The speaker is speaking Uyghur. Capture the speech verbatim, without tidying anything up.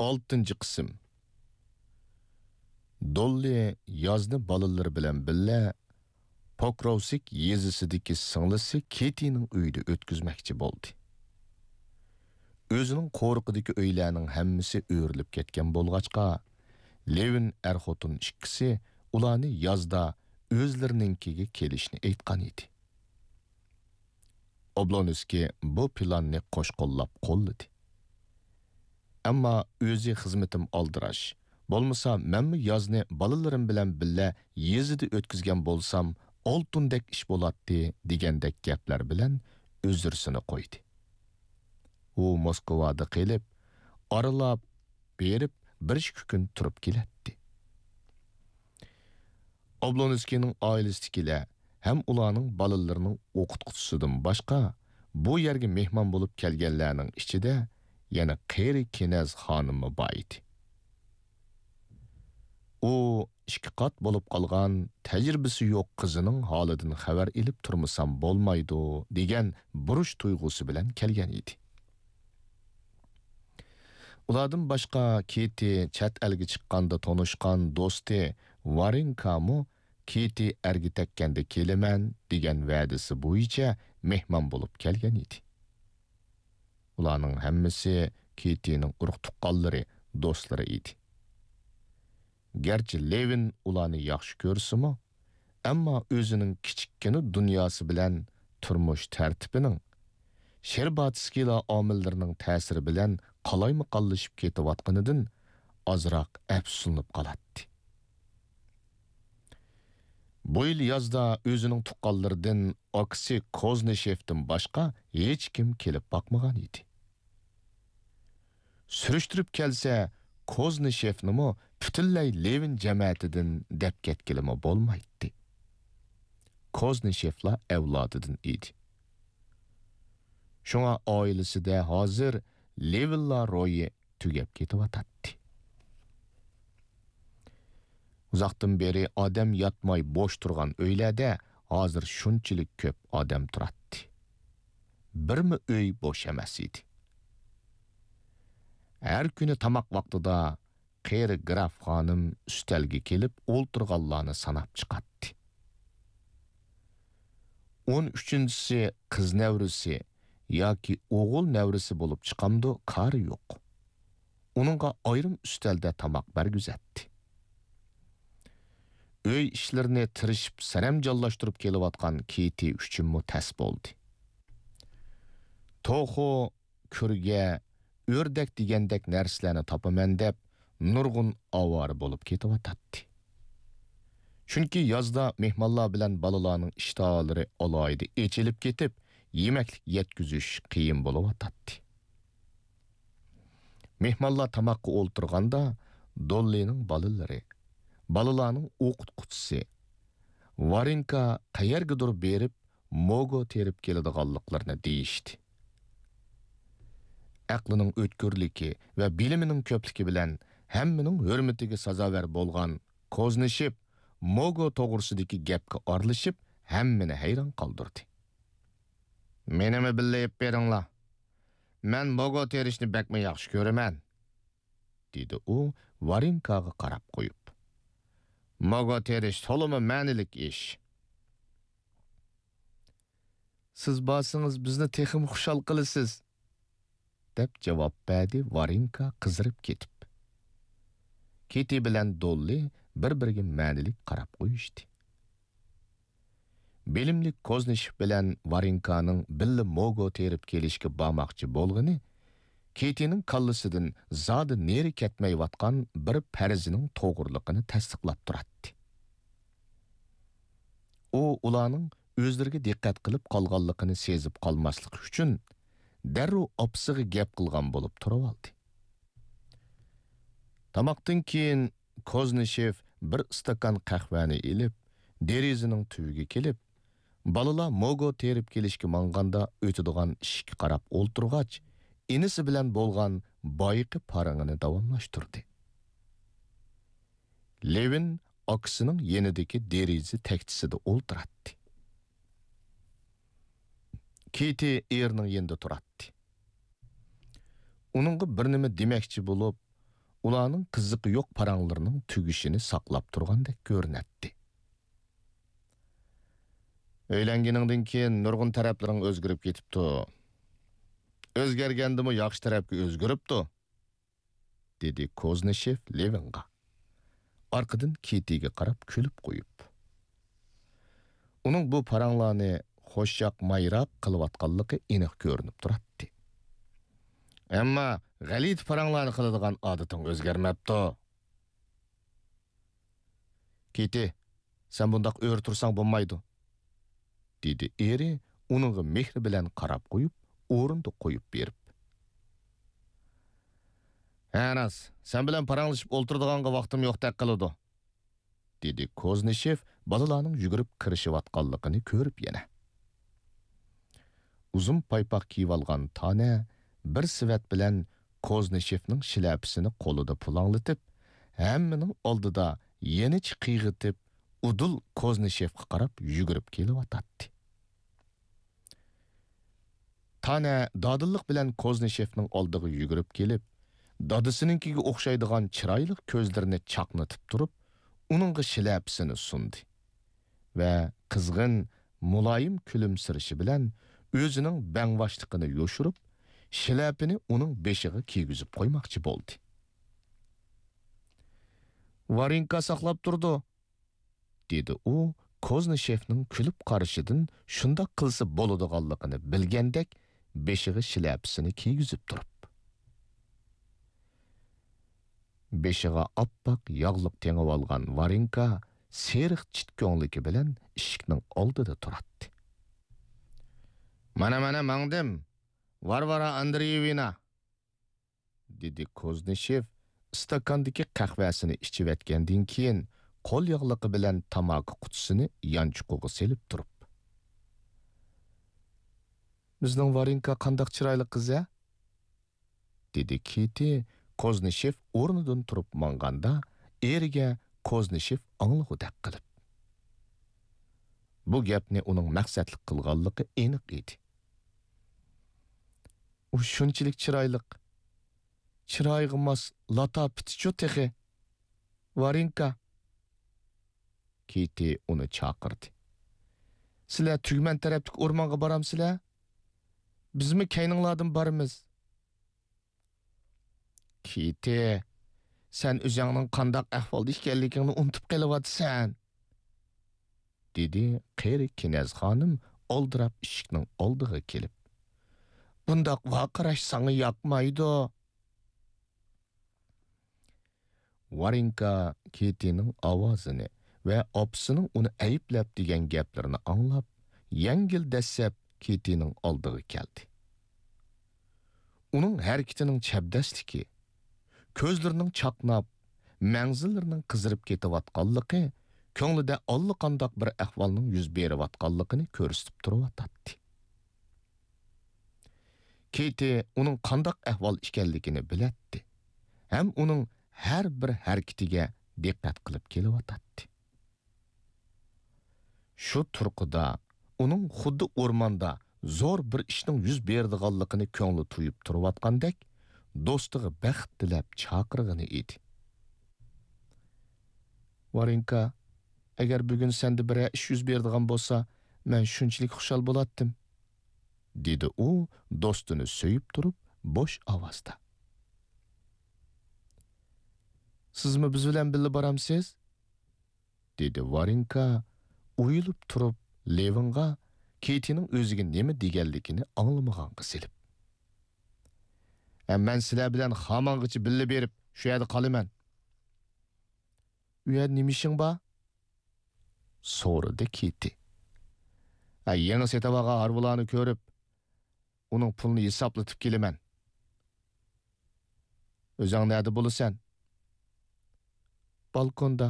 ئالتىنچى قىسىم. دوللى يازنى بالىلىرى بىلەن بىللە پوكروۋسك يېزىسىدىكى سىڭلىسى كېتىنىڭ ئۆيىدە ئۆتكۈزمەكچى بولدى. ئۆزىنىڭ قورۇقىدىكى ئۆيلەرنىڭ ھەممىسى ئۆرۈلۈپ كەتكەن بولغاچقا، لېۋىن ئەر-خوتۇن ئىككىسى ئۇلارنى يازدا ئۆزلىرىنىڭكىگە كېلىشنى ئېيتقان ئىدى. ئوبلونسكىي بۇ پىلاننى قوش قوللاپ قوللىدى. ئەمما ئۆزى خىزمىتىم ئالدىراش، بولمىسا مەنمۇ يازنى بالىلىرىم بىلەن بىللە يېزىدا ئۆتكۈزگەن بولسام، ئالتۇندەك ئىش بولاتتى، دېگەندەك گەپلەر بىلەن ئۆزرىسىنى قويدى. ئۇ موسكۋادا قېلىپ، ئارىلاپ بېرىپ، بىر ئىككى كۈن تۇرۇپ كېلەتتى. ئوبلونسكىينىڭ ئائىلىسىدىكىلەر ھەم ئۇلارنىڭ بالىلىرىنىڭ ئوقۇتقۇچىسىدىن باشقا، بۇ يەرگە مېھمان بولۇپ كەلگەنلەرنىڭ ئىچىدە يەنە قېرى كېنەز خانىممۇ بار ئىدى. ئۇ ئىككى قات بولۇپ قالغان، تەجرىبىسى يوق قىزىنىڭ ھالىدىن خەۋەر ئېلىپ تۇرمىسام بولمايدۇ، دېگەن بۇرچ تۇيغۇسى بىلەن كەلگەن ئىدى. ئۇلاردىن باشقا كېتى چەت ئەلگە چىققاندا تونۇشقان دوستى ۋارېنكامۇ كېتى ئەرگە تەگكەندە كېلىمەن دېگەن ۋەدىسى بويىچە مېھمان بولۇپ كەلگەن ئىدى. ئۇلارنىڭ ھەممىسى كېتىنىڭ ئۇرۇق-تۇغقانلىرى، دوستلىرى ئىدى. گەرچە لېۋىن ئۇلارنى ياخشى كۆرسىمۇ، ئەمما ئۆزىنىڭ كىچىككىنە دۇنياسى بىلەن تۇرمۇش تەرتىپىنىڭ، شېرباتسكىيلار ئامىللىرىنىڭ تەسىرى بىلەن قالايمىقانلىشىپ كېتىۋاتقىنىدىن ئازراق ئەپسۇسلىنىپ قالاتتى. بۇ يىل يازدا ئۆزىنىڭ تۇغقانلىرىدىن ئاكىسى كوزنىشېفتىن باشقا ھېچكىم كېلىپ باقمىغان ئىدى. سۈرۈشتۈرۈپ كەلسە، كوزنىشېفنىمۇ پۈتۈنلەي لېۋىن جەمەتىدىن دەپ كەتكىلىمۇ بولمايتتى. كوزنىشېفلار ئەۋلادىدىن ئىدى. شۇڭا ئائىلىسىدە ھازىر لېۋىنلار روھى تۈگەپ كېتىۋاتاتتى. ئۇزاقتىن بېرى ئادەم ياتماي بوش تۇرغان ئۆيلەردە ھازىر شۇنچىلىك كۆپ ئادەم تۇراتتى. بىرمۇ ئۆي بوش ئەمەس ئىدى. ھەر كۈنى تاماق ۋاقتىدا قېرى گراف خانىم ئۈستەلگە كېلىپ ئولتۇرغانلارنى ساناپ چىقاتتى. ئون ئۈچىنچىسى قىز نەۋرىسى ياكى ئوغۇل نەۋرىسى بولۇپ چىقامدۇ، كارى يوق. ئۇنىڭغا ئايرىم ئۈستەلدە تاماق بەرگۈزەتتى. ئۆي ئىشلىرىنى تىرىشىپ سەرەمجانلاشتۇرۇپ كېلىۋاتقان كېتى ئۈچۈنمۇ تەس بولدى. توخۇ، كۈرگە، ئۆردەك دېگەندەك نەرسىلەرنى تاپىمەن دەپ، نۇرغۇن ئاۋارە بولۇپ كېتىۋاتاتتى. چۈنكى يازدا مېھمانلار بىلەن بالىلارنىڭ ئىشتىھالىرى ئالاھىدە ئېچىلىپ كېتىپ، يېمەكلىك يەتكۈزۈش قىيىن بولۇۋاتاتتى. مېھمانلار تاماققا ئولتۇرغاندا، دوللىنىڭ بالىلىرى، بالىلارنىڭ ئوقۇتقۇچىسى، ۋارېنكا قەيەرگىدۇر بېرىپ، موگو تېرىپ كېلىدىغانلىقلىرىنى دېيىشتى. ئەقلىنىڭ ئۆتكۈرلۈكى ۋە بىلىمىنىڭ كۆپلۈكى بىلەن ھەممىنىڭ ھۆرمىتىگە سازاۋەر بولغان كوزنىشېف موگو توغرىسىدىكى گەپكە ئارىلىشىپ، ھەممىنى ھەيران قالدۇردى. «مېنىمۇ بىللە ئېلىپ بېرىڭلار. مەن موگو تېرىشنى بەكمۇ ياخشى كۆرىمەن.» دېدى ئۇ ۋارېنكاغا قاراپ قويۇپ. «موگو تېرىش تولىمۇ مەنىلىك ئىش.» «سىز بارسىڭىز، بىزنى تېخىمۇ خۇشال قىلىسىز.» دەپ جاۋاب بەردى ۋارېنكا قىزىرىپ كېتىپ. كېتى بىلەن دوللى بىر-بىرىگە مەنىلىك قاراپ قويۇشتى. بىلىملىك كوزنىشېف بىلەن ۋارېنكانىڭ بىللە موگو تېرىپ كېلىشكە بارماقچى بولغىنى كېتىنىڭ كاللىسىدىن زادى نېرى كەتمەيۋاتقان بىر پەرىزىنىڭ توغرىلىقىنى تەستىقلاپ تۇراتتى. ئۇ ئۇلارنىڭ ئۆزلىرىگە دىققەت قىلىپ قالغانلىقىنى سېزىپ قالماسلىقى ئۈچۈن، دەررۇ ئاپىسىغا گەپ قىلغان بولۇپ تۇرۇۋالدى. تاماقتىن كېيىن كوزنىشېف بىر ئىستاكان قەھۋەنى ئېلىپ، دېرىزىنىڭ تۈۋىگە كېلىپ، بالىلار موگو تېرىپ كېلىشكە ماڭغاندا ئۆتىدىغان ئىشىككە قاراپ ئولتۇرغاچ، ئىنىسى بىلەن بولغان بايىقى پارىڭىنى داۋاملاشتۇردى. لېۋىن ئاكىسىنىڭ يېنىدىكى دېرىزە تەكچىسىدە ئولتۇراتتى. كېتى ئېرىنىڭ يېنىدا تۇراتتى. ئۇنىڭغا بىر نېمە دېمەكچى بولۇپ، ئۇلارنىڭ قىزىقى يوق پاراڭلىرىنىڭ تۈگىشىنى ساقلاپ تۇرغاندەك كۆرۈنەتتى. ئۆيلەنگىنىڭدىن كېيىن نۇرغۇن تەرەپلىرىڭ ئۆزگىرىپ كېتىپتۇ. ئۆزگەرگەندىمۇ ياخشى تەرەپكە ئۆزگىرىپتۇ، دېدى كوزنىشېف لېۋىنغا. ئارقىدىن كېتىگە قاراپ كۈلۈپ قويۇپ. ئۇنىڭ بۇ پاراڭلارنى خۇشياقمايراق قىلىۋاتقانلىقى ئېنىق كۆرۈنۈپ تۇراتتى. ئەمما غەلىتە پاراڭلارنى قىلىدىغان ئادىتىڭ ئۆزگەرمەپتۇ. كېتى، سەن بۇنداق ئۆرە تۇرساڭ بولمايدۇ، دېدى ئېرى ئۇنىڭغا مېھرى بىلەن قاراپ قويۇپ، ئورنىدا قويۇپ بېرىپ. ھە راست، سەن بىلەن پاراڭلىشىپ ئولتۇرىدىغانغا ۋاقتىم يوقتەك قىلىدۇ، دېدى كوزنىشېف بالىلارنىڭ يۈگۈرۈپ كىرىشىۋاتقانلىقىنى كۆرۈپ يەنە. ئۇزۇن پايپاق كىيىۋالغان تانە بىر سېۋەت بىلەن كوزنىشېفنىڭ شىلەپىسىنى قولىدا پۇلاڭلىتىپ، ھەممىنىڭ ئالدىدا يېنىچە قىيغىتىپ، ئۇدۇل كوزنىشېفقا قاراپ يۈگۈرۈپ كېلىۋاتاتتى. تانە دادىللىق بىلەن كوزنىشېفنىڭ ئالدىغا يۈگۈرۈپ كېلىپ، دادىسىنىڭكىگە ئوخشايدىغان چىرايلىق كۆزلىرىنى چاقنىتىپ تۇرۇپ، ئۇنىڭغا شىلەپىسىنى سۇندى ۋە قىزغىن، مۇلايىم كۈلۈمسىرىشى بىلەن ئۆزىنىڭ بەڭباشلىقىنى يوشۇرۇپ، شىلەپىنى ئۇنىڭ بېشىغا كىيگۈزۈپ قويماقچى بولدى. ۋارىنكا ساقلاپ تۇرىدۇ، دېدى ئۇ كوزنىشېفنىڭ كۈلۈپ قارىشىدىن شۇنداق قىلسا بولىدىغانلىقىنى بىلگەندەك بېشىغا شىلەپىسىنى كىيگۈزۈپ تۇرۇپ. بېشىغا ئاپئاق ياغلىق تېڭىۋالغان ۋارىنكا سېرىق چىت كۆڭلىكى بىلەن ئىشىكنىڭ ئالدىدا تۇراتتى. مانا، مانا ماڭدىم، ۋارۋارا ئاندرېيېۋنا، دېدى كوزنىشېف ئىستاكاندىكى قەھۋەسىنى ئىچىۋەتكەندىن كېيىن، قول ياغلىقى بىلەن تاماكا قۇتىسىنى يانچۇقىغا سېلىپ تۇرۇپ. بىزنىڭ ۋارىنكا قانداق چىرايلىق قىز ھە؟ دېدى كېتى كوزنىشېف ئورنىدىن تۇرۇپ ماڭغاندا، ئېرىگە كوزنىشېف ئاڭلىغۇدەك قىلىپ. بۇ گەپنى ئۇنىڭ مەقسەتلىك قىلغانلىقى ئېنىق ئىدى. ئۇ شۇنچىلىك چىرايلىق، چىرايىغا ماس لاتاپىتىچۇ تېخى. ۋارىنكا! كېتى ئۇنى چاقىردى. سىلەر تۈگمەن تەرەپتىكى ئورمانغا بارامسىلەر؟ بىزمۇ كەينىڭلاردىن بارىمىز. كېتى، سەن ئۆزۈڭنىڭ قانداق ئەھۋالدا ئىكەنلىكىڭنى ئۇنتۇپ قېلىۋاتىسەن، دېدى قېرى كىنەز خانىم ئالدىراپ ئىشىكنىڭ ئالدىغا كېلىپ. بۇنداق ۋارقىراش ساڭا ياقمايدۇ. ۋارىنكا كېتىنىڭ ئاۋازىنى ۋە ئاپىسىنىڭ ئۇنى ئەيىبلەپ دېگەن گەپلىرىنى ئاڭلاپ، يەڭگىل دەسسەپ كېتىنىڭ ئالدىغا كەلدى. ئۇنىڭ ھەرىكىتىنىڭ چەبدەسلىكى، كۆزلىرىنىڭ چاقناپ، مەڭزىلىرىنىڭ قىزىرىپ كېتىۋاتقانلىقى كۆڭلىدە ئاللىقانداق بىر ئەھۋالنىڭ يۈز بېرىۋاتقانلىقىنى كۆرسىتىپ تۇرۇۋاتاتتى. كېتى ئۇنىڭ قانداق ئەھۋال ئىكەنلىكىنى بىلەتتى ھەم ئۇنىڭ ھەر بىر ھەرىكىتىگە دىققەت قىلىپ كېلىۋاتاتتى. شۇ تۇرقىدا ئۇنىڭ خۇددى ئورماندا زور بىر ئىشنىڭ يۈز بېرىدىغانلىقىنى كۆڭلى تۇيۇپ تۇرۇۋاتقاندەك، دوستىغا بەخت تىلەپ چاقىرغىنى ئىدى. ۋارىنكا، ئەگەر بۈگۈن سەندە بىرەر ئىش يۈز بېرىدىغان بولسا، مەن شۇنچىلىك خۇشال بولاتتىم، دېدى ئۇ دوستىنى سۆيۈپ تۇرۇپ بوش ئاۋازدا. سىزمۇ بىز بىلەن بىللە بارامسىز؟ دېدى ۋارىنكا ئويۇلۇپ تۇرۇپ لېۋىنغا كېتىنىڭ ئۆزىگە نېمە دېگەنلىكىنى ئاڭلىمىغانغا سېلىپ. ھە، مەن سىلەر بىلەن خامانغىچە بىللە بېرىپ، شۇ يەردە قالىمەن. ئۇ يەردە نېمە ئىشىڭ بار؟ سورىدى كېتى. ھە، يېڭى سېتىۋالغان ھارۋىلارنى كۆرۈپ، ئۇنىڭ پۇلىنى ھېسابلىتىپ كېلىمەن. ئۆزۈڭ نەدە بولىسەن؟ بالكوندا.